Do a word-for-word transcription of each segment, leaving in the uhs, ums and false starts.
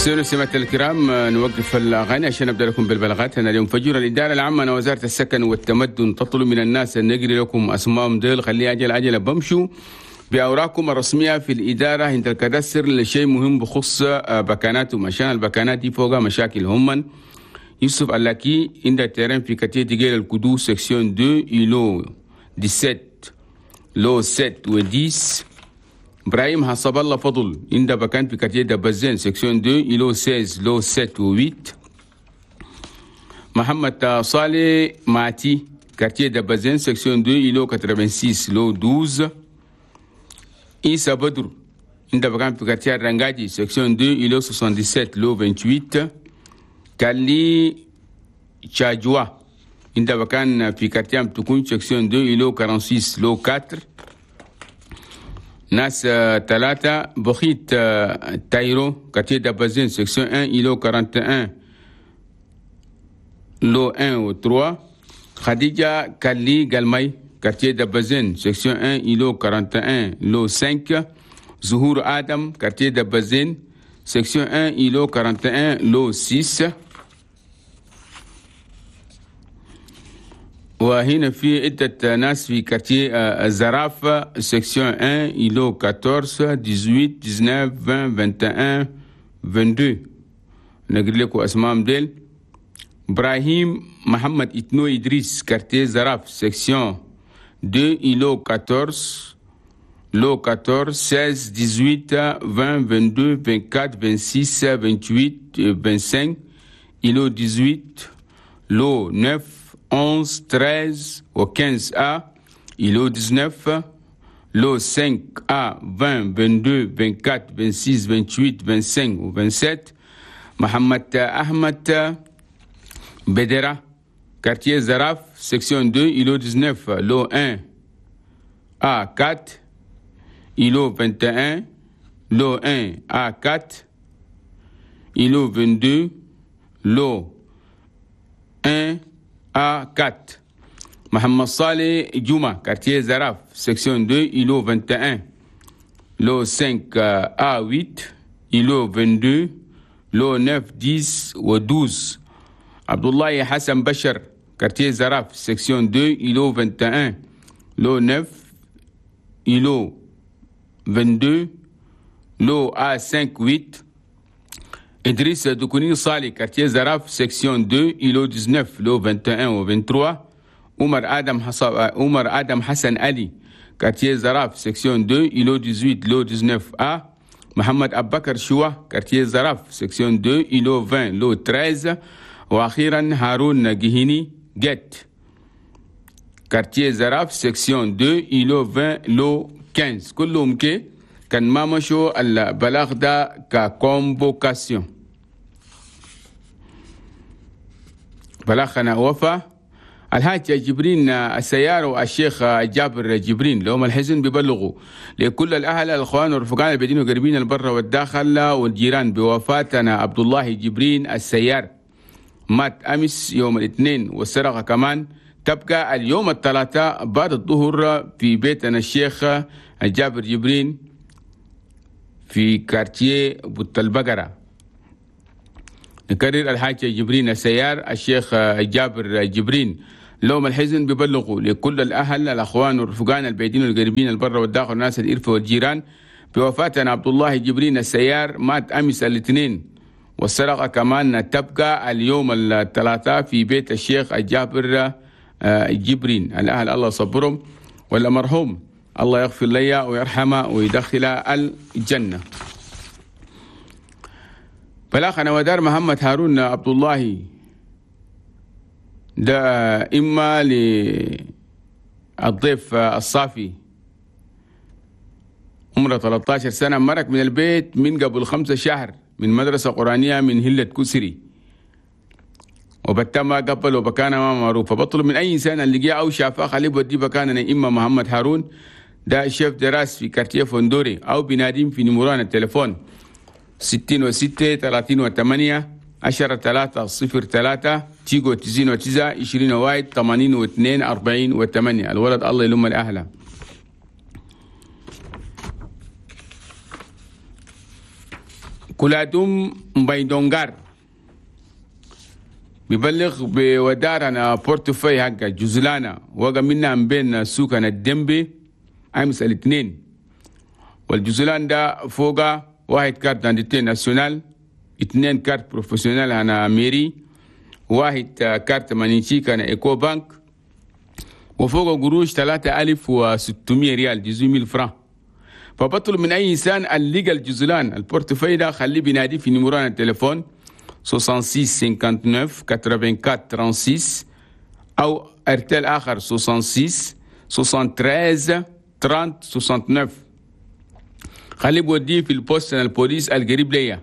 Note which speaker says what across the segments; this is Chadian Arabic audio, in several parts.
Speaker 1: مستمعينا ومستمعات الكرام، نوقف الاغاني عشان نبدا لكم بالبلاغات. انا اليوم فجر الادارة العامة وزارة السكن والتمدن تطلب من الناس ان نقري لكم اسمائهم ديل، خلي اجل عجله بمشوا باوراقكم الرسمية في الادارة عند ال cadastre لشيء مهم بخص بكاناتهم، عشان البكانات دي فوقها مشاكل. هم يوسف اللاكي عند terrain في quartier ديجيل الكدو section اثنين îlot سبعة عشر lot سبعة و عشرة. ابراهيم حسب الله فضل عند بكان في quartier دبزين section اثنين îlot ستة عشر lot سبعة و ثمانية. محمد صالح ماتي quartier دبزين section اثنين îlot ستة وثمانين lot اثنا عشر. عيسى بدر عند بكان في quartier رنجاجي section اثنين îlot سبعة وسبعين lot ثمانية وعشرين. كالي تشاجوا عند بكان في quartier تكون section اثنين îlot ستة وأربعين lot أربعة. ناس ثلاثة بخيت تايرو quartier دبزين section واحد îlot واحد وأربعين lot واحد و ثلاثة. خديجة كالي قلمي quartier دبزين section واحد îlot واحد وأربعين lot خمسة. زهور آدم quartier دبزين section واحد îlot واحد وأربعين lot ستة. وهنا في عدة ناس في quartier الزرافة section واحد îlot أربعة عشر ثمانية عشر تسعة عشر عشرين واحد وعشرين اثنين وعشرين. نقول لكم اسمائهم ديل: ابراهيم محمد اتنو ادريس quartier زراف section اثنين îlot أربعة عشر lot أربعة عشر ستة عشر ثمانية عشر عشرين اثنين وعشرين أربعة وعشرين ستة وعشرين ثمانية وعشرين خمسة وعشرين îlot ثمانية عشر lot تسعة أحد عشر ثلاثة عشر و خمسة عشر A îlot تسعة عشر lot خمسة A عشرين اثنين وعشرين أربعة وعشرين ستة وعشرين ثمانية وعشرين خمسة وعشرين و سبعة وعشرين. محمد أحمد بدرة quartier زراف section اثنين îlot تسعة عشر lot واحد A أربعة îlot واحد وعشرين lot واحد A أربعة îlot اثنين وعشرين lot واحد A أربعة. محمد صالح جمعة quartier زراف section اثنين îlot واحد وعشرين lot خمسة A ثمانية îlot اثنين وعشرين lot تسعة عشر و اثنا عشر. عبد الله حسن بشر quartier زراف section اثنين îlot واحد وعشرين lot تسعة îlot اثنين وعشرين lot A خمسة ثمانية. إدريس دكوني صالي quartier زراف section اثنين îlot تسعة عشر lot واحد وعشرين و ثلاثة وعشرين. عمر آدم حصب عمر آدم حسن علي quartier زراف section اثنين îlot ثمانية عشر lot تسعة عشر A. محمد أبو بكر شوا quartier زراف section اثنين îlot عشرين lot ثلاثة عشر. وأخيرا هارون جهيني جت quartier زراف section اثنين îlot عشرين lot خمسة عشر. كلهم كي كان ما مشوا البلاغ ده ك convocation. بلاغنا وفا الحاج جبرين السيار والشيخ جابر جبرين لهم الحزن بيبلغوا لكل الاهل الاخوان والرفقان البعيدين وقريبين البر والداخل والجيران بوفاتنا عبد الله جبرين السيار، مات امس يوم الاثنين، والسرقة كمان تبقى اليوم الثلاثاء بعد الظهر في بيتنا الشيخ جابر جبرين في quartier بوت البقرة. نكرر، الحاج جبرين السيار الشيخ جابر جبرين لهم الحزن بيبلغوا لكل الأهل الأخوان والرفقان البعيدين والقريبين البر والداخل والناس الإرفة والجيران بوفاتنا عبد الله جبرين السيار، مات أمس الاثنين، والسرقة كمان تبقى اليوم الثلاثاء في بيت الشيخ جابر جبرين. الأهل الله صبرهم، والمرحوم الله يغفر لي ويرحمه ويدخل الجنة. بلاغنا ودار محمد هارون عبد الله ده إما للضيف الصافي عمره ثلاثة عشر سنة، مرق من البيت من قبل خمسة شهر من مدرسة قرآنية من هلة كسري، وبتما قبل وبكان ما معروف. فبطلب من أي إنسان اللي جاء أو شافه خليه بودي بكاننا إما محمد هارون ده شيف دراس في quartier فندوري، أو بناديم في نمران التليفون ستين وستة ثلاثين وثمانية عشرة ثلاثة صفر ثلاثة تيجو تسعين وتسعة عشرين واحد ثمانين واثنين أربعين وثمانية. الولد الله يلم الأهل. كلاتم بيدونغار بيبلغ بودارنا portefeuille حق جزلانا وقع منا بين سوقنا الدنبي امس الاثنين، والجزلان ده فوق واحد carte d'identité nationale، اثنين carte professionnelle هنا mairie، واحد carte magnétique هنا Ecobank، وفوق قروش ثلاثة ألف وستمية ريال dix-huit mille francs. فبطلب من أي إنسان اللي لقى الجزلان ال portefeuille ده خليه بينادي في numéro التليفون ستة وستين خمسة وتسعين أربعة وثمانين ستة وثلاثين أو أرتال آخر ستة وستين تلاتة وستين ثلاثين تسعة وستين. خليه بوديه في ال poste البوليس القريب ليا،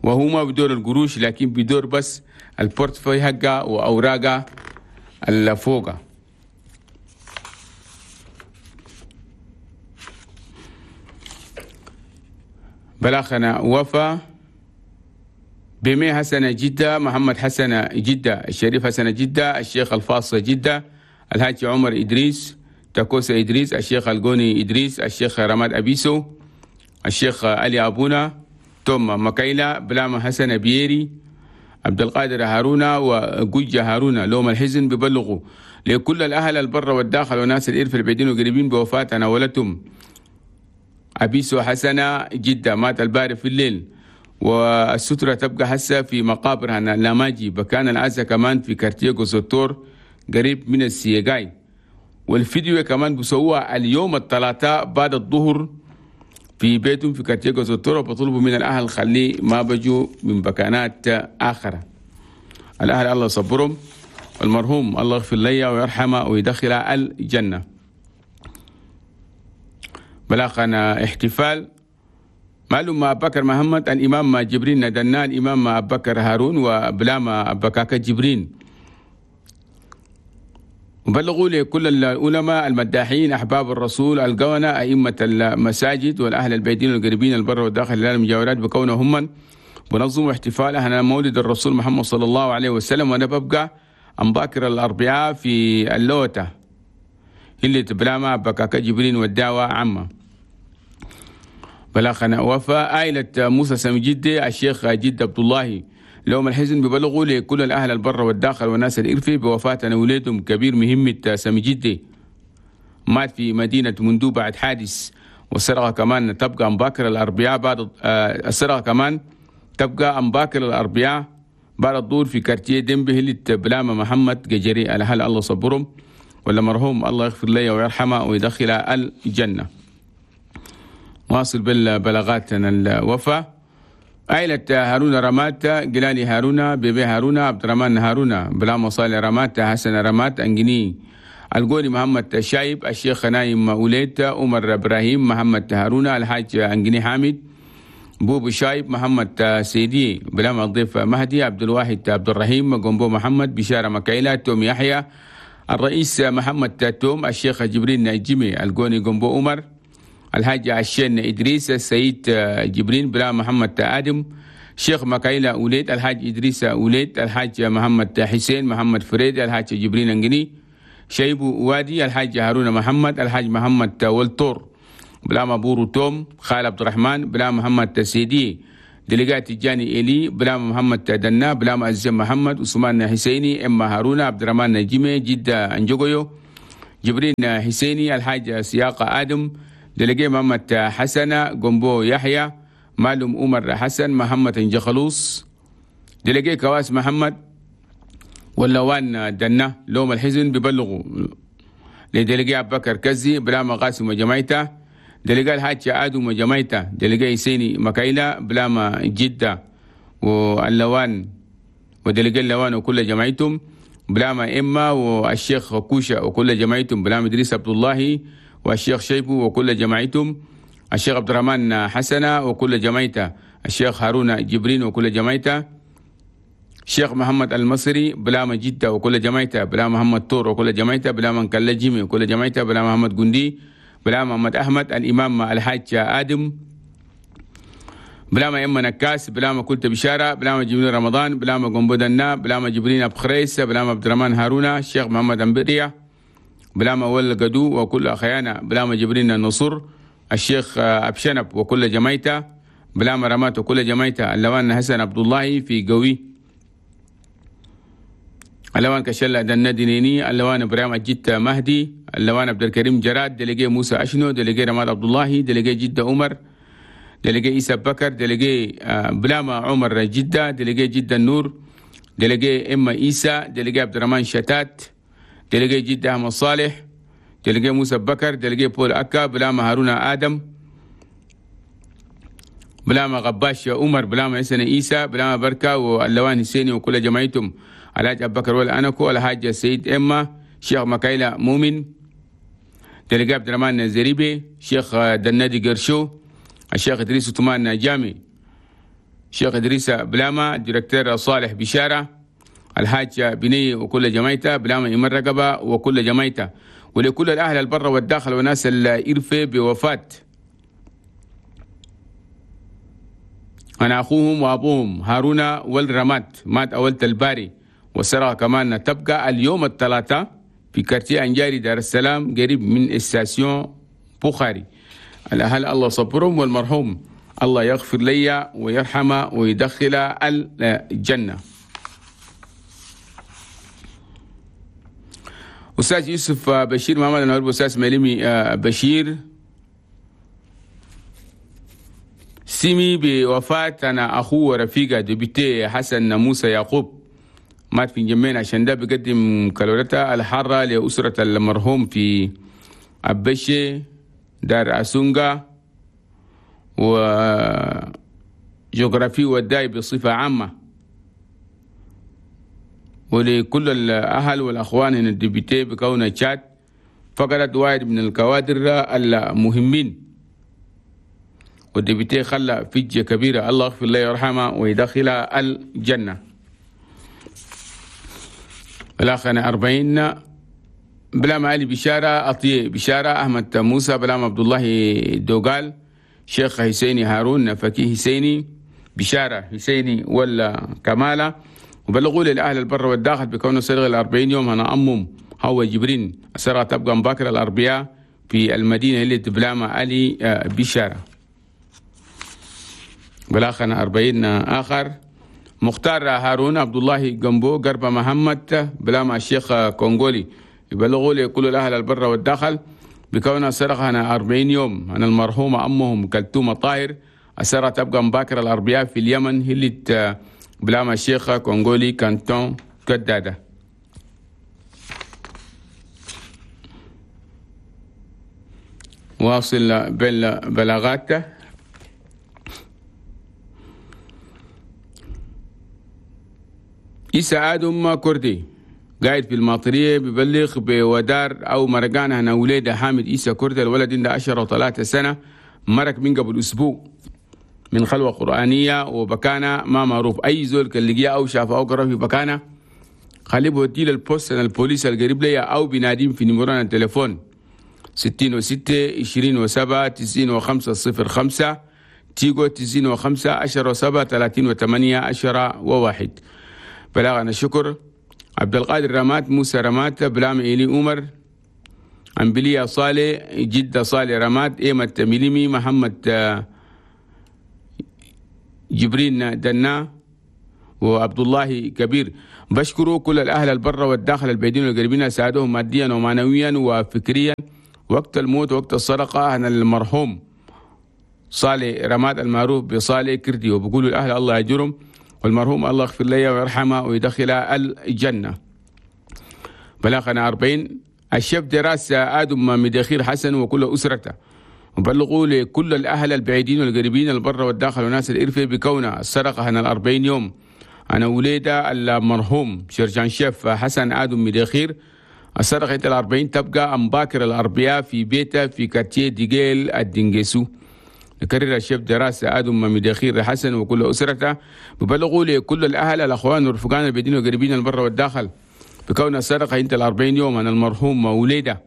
Speaker 1: وهو ما بدور القروش لكن بدور بس ال portefeuille حقه وأوراقه اللي فوقه. بلاغنا وفا بمي حسن جدة، محمد حسن جدة، الشريف حسن جدة، الشيخ الفاصل جدة، الحاج عمر إدريس، تاكوسا إدريس، الشيخ الجوني إدريس، الشيخ رماد أبيسو، الشيخ علي أبونا، توم مكايلا، بلاما حسن بييري، عبد القادر هارونا، وجوجة هارونا. لوم الحزن ببلغوا لكل الأهل البر والداخل وناس الإرف البعيدين وقريبين بوفاة ناولتهم أبيسو حسنة جدة، مات الباري في الليل، والسترة تبقى حسة في مقابر هنا لاماجي، بكان العزا كمان في كارتيغو سوتور قريب من السيجاي. والفيديو كمان بسوى اليوم الثلاثاء بعد الظهر في بيتهم في كارتيغو سوتور، وبطلبوا من الأهل خليه ما بجوا من بكانات آخرة. الأهل الله يصبرهم، المرحوم الله يغفر لي ويرحمه ويدخله الجنة. بلاغنا احتفال معلوم مع بكر محمد، الإمام جبرين ندنا، الإمام بكر هارون، وبلاما بكاكا جبرين. وبلغوا لكل العلماء المداحين أحباب الرسول القونة أئمة المساجد والأهل البيتين القريبين البر والداخل المجاورات بكونهم من بنظموا احتفال أهل مولد الرسول محمد صلى الله عليه وسلم. وأنا ببقى أم باكر الأربعاء في اللوتة اللي تبلاما بكاكا جبرين والدعوة عامة. بلاغنا وفاء عائلة موسى سمجدي الشيخ جد عبد الله لهم الحزن ببلغوا لكل الأهل البر والداخل والناس الإرفي بوفاة وليدهم كبير مهمة سمجدي، مات في مدينة مندو بعد حادث. والسرقة كمان تبقى أم باكر الأربعاء بعد السرقة كمان تبقى أم باكر الأربعاء بعد الدور في كارتيه ديمبي اللي بلامة محمد ججري. الأهل الله صبرهم، ولا مرحوم الله يغفر لي ويرحمه ويدخله الجنة. واصل بالبلاغات الوفاة. عائلة هارون رمات، جلالي هارون، بيبي هارون، عبد الرحمن هارون، بلا مصالح رمات، حسن رمات، أنجني القولي محمد شايب، الشيخ نايم أوليت، عمر إبراهيم، محمد هارون، الحاج أنجني حامد، بوب شايب، محمد سيدي، بلا الضيف مهدي، عبد الواحد عبد الرحيم، جنبو محمد، بشارة مكايلة، توم يحيى، الرئيس محمد توم، الشيخ جبرين نجمي، القوني جنبو عمر، الحاج عشان إدريس، السيد جبرين، بلا محمد آدم، شيخ مكايلة أوليد، الحاج إدريس أوليد، الحاج محمد حسين، محمد فريد، الحاج جبرين أنجني، شيبو وادي، الحاج هارون محمد، الحاج محمد والتور، بلا مبورو توم، خال عبد الرحمن، بلا محمد سيدي، دلقات الجاني إلي، بلا محمد دنا، بلا معزم محمد، عثمان حسيني، إما هارون، عبد الرحمن نجمي، جدة أنجوغيو، جبرين حسيني، الحاج سياق آدم، دلقي محمد حسن، جنبو يحيى، معلوم عمر حسن، محمد انجخلوص، دلقي كواس محمد، واللوان دنا. لوم الحزن ببلغوا لدلقي أبو بكر كزي، بلا قاسم وجماعته، دلقي الحاج آدم وجماعته، دلقي سيني مكايلة، بلا جدة واللوان، ودلقي اللوان وكل جماعتهم، بلا إما والشيخ كوشة وكل جماعتهم، بلا إدريس عبد الله والشيخ شيبو وكل جماعتهم، الشيخ عبد الرحمن حسنة وكل جماعته، الشيخ هارون جبرين وكل جماعته، الشيخ محمد المصري، بلا جدة وكل جماعته، بلا محمد طور وكل جماعته، بلا من كلا جيمي وكل جماعته، بلا محمد جندي، بلا محمد أحمد، الإمام الحاج آدم، بلا ما إما نكاس، بلا ما كنت بشارة، بلا ما جبرين رمضان، بلا ما قنبودنا، بلا ما جبرين أبو خريس، بلا ما عبد الرحمن هارون، الشيخ محمد أمبريا، بلا ما ول قدو وكل أخيانا، بلا ما جبرين النصر، الشيخ أبشنب وكل جمايته، بلاما رمات وكل جمايته، اللوان حسن عبد الله في قوي، اللوان كشلة دندنيني، اللوان إبراهيم الجدة مهدي، اللوان عبد الكريم جراد، دلقي موسى أشنو، دلقي رماد عبد الله، دلقي جدة عمر، دلقي إيسى بكر، دلقي بلاما عمر جدة، دلقي جدة النور، دلقي إما إيسى، دلقي عبد الرحمن شتات، دلقي جدة أحمد صالح، دلقي موسى بكر، دلقي بول أكا، بلاما هارون آدم، بلاما غباش عمر، بلاما حسن إيسى، بلاما بركة واللوان حسيني وكل جماعتهم، الحاج أبو بكر والأنكو، الحاج سيد إما، شيخ مكايلة مؤمن، دلقي عبد الرحمن زريبي، شيخ دنادي قرشو، الشيخ إدريس عثمان جامي، شيخ إدريس بلاما، directeur صالح بشارة، الحاج بني وكل جماعته، بلاما إيمان رقبة وكل جماعته، ولكل الأهل البر والداخل وناس الإرفة بوفاة أنا أخوهم وأبوهم هارون والرمات، مات أولت الباري، والسرقة كمان تبقى اليوم الثلاثاء في quartier أنجاري دار السلام قريب من station بخاري. الأهل الله صبرهم، والمرحوم الله يغفر لي ويرحمه ويدخل الجنة. أستاذ يوسف بشير محمد النهار، أستاذ مليمي بشير سمي بوفاة أنا أخوه ورفيقه député حسن موسى يعقوب، مات في جمين، عشان ده بقدم كالورتا الحارة لأسرة المرحوم في أبشي دار أسونغا وجغرافي وداي بصفة عامة، ولكل الأهل والأخوان هنا ال député بكون تشاد فقدت واحد من الكوادر المهمين، وال député خلى فجة كبيرة، الله يغفر له ويرحمه ويدخل الجنة. الأخ أربعين بلام علي بشارة أطيه بشارة، أحمد موسى، بلام عبد الله دوغال، شيخ حسيني هارون، فكيه حسيني بشارة حسيني ولا كمالة. وبلغوا للأهل البر والداخل بكون سرقة الأربعين يوم أنا أمم هو جبرين، السرقة تبقى مباكرة الأربعاء في المدينة اللي بلام علي بشارة. بلاخنا أربعين آخر مختار هارون عبد الله جنبو قرب محمد بلام الشيخ كونغولي، يبلغوا لكل الأهل البر والداخل بكون سرقة أنا أربعين يوم أنا المرحومة أمهم كلثوم طاهر، السرقة تبقى مباكرة الأربعاء في اليمن هلت بلام الشيخ كونغولي كانتون كدادة. واصل بالبلاغات. إيسا آدم كردي قاعد في الماطرية ببلغ بودار أو مرقان هنا وليدة حامد إيسا كردي، الولد عنده عشرة وثلاثة سنة، مرق من قبل أسبوع من خلوة قرآنية وبكانة ما معروف، أي زول كان لقيه أو شافه أو قرأ في بكانة خليه بوديه لل poste البوليس القريب ليا أو بناديم في نمرنا التليفون ستين وستة عشرين وسبعة تسعين وخمسة صفر خمسة تيجو تسعين وخمسة عشرة وسبعة ثلاثين وثمانية عشرة وواحد. بلاغنا الشكر عبد القادر رمات، موسى رمات، بلام إيلي عمر، أمبليا صالح، جدة صالح رمات، إيمة ميليمي، محمد جبرين دنا، وعبد الله كبير. بشكروا كل الأهل البر والداخل البعيدين والقريبين، ساعدوهم ماديا ومعنويا وفكريا وقت الموت وقت السرقة عن المرحوم صالح رماد المعروف بصالح كردي، وبقولوا الأهل الله يجرم، والمرحوم الله يغفر له ويرحمه ويدخله الجنة. بلاغنا أربعين الشيف دراسة آدم مدخير حسن وكل أسرته، وبلغوا لكل الأهل البعيدين والقريبين البر والداخل وناس الإرفة بكونة السرقة هنا الأربعين يوم أنا وليدة المرحوم شرجان شيف حسن آدم مدخير. السرقة الأربعين تبقى أمباكر الأربعاء في بيته في كارتيه ديجيل الدنجسو. نكرر الشيف دراسة آدم مدخير حسن وكل أسرته، ببلغوا لكل الأهل الأخوان والرفقان البعيدين والقريبين البر والداخل بكون السرقة انت الأربعين يوم أنا المرحوم وليدة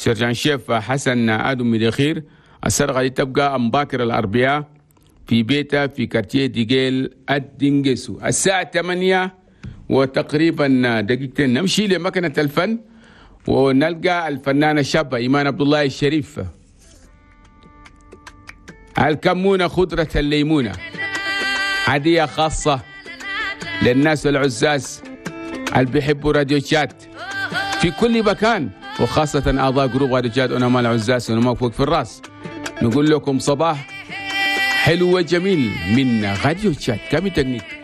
Speaker 1: sergent chef حسن آدم مدخير. السرقة دي تبقى أمباكر الأربعاء في بيته في quartier ديجيل الدنجسو الساعة ثمانية وتقريبا دقيقتين. نمشي لمكنة الفن ونلقى الفنانة الشابة إيمان عبد الله الشريف. الكمونة خضرة الليمونة، هدية خاصة للناس العزاز اللي بيحبوا راديو تشاد في كل مكان، وخاصة أعضاء groupe راديو تشاد ونما العزاز ونما فوق في الراس. نقول لكم صباح حلو وجميل من راديو تشاد. كامي تكنيك.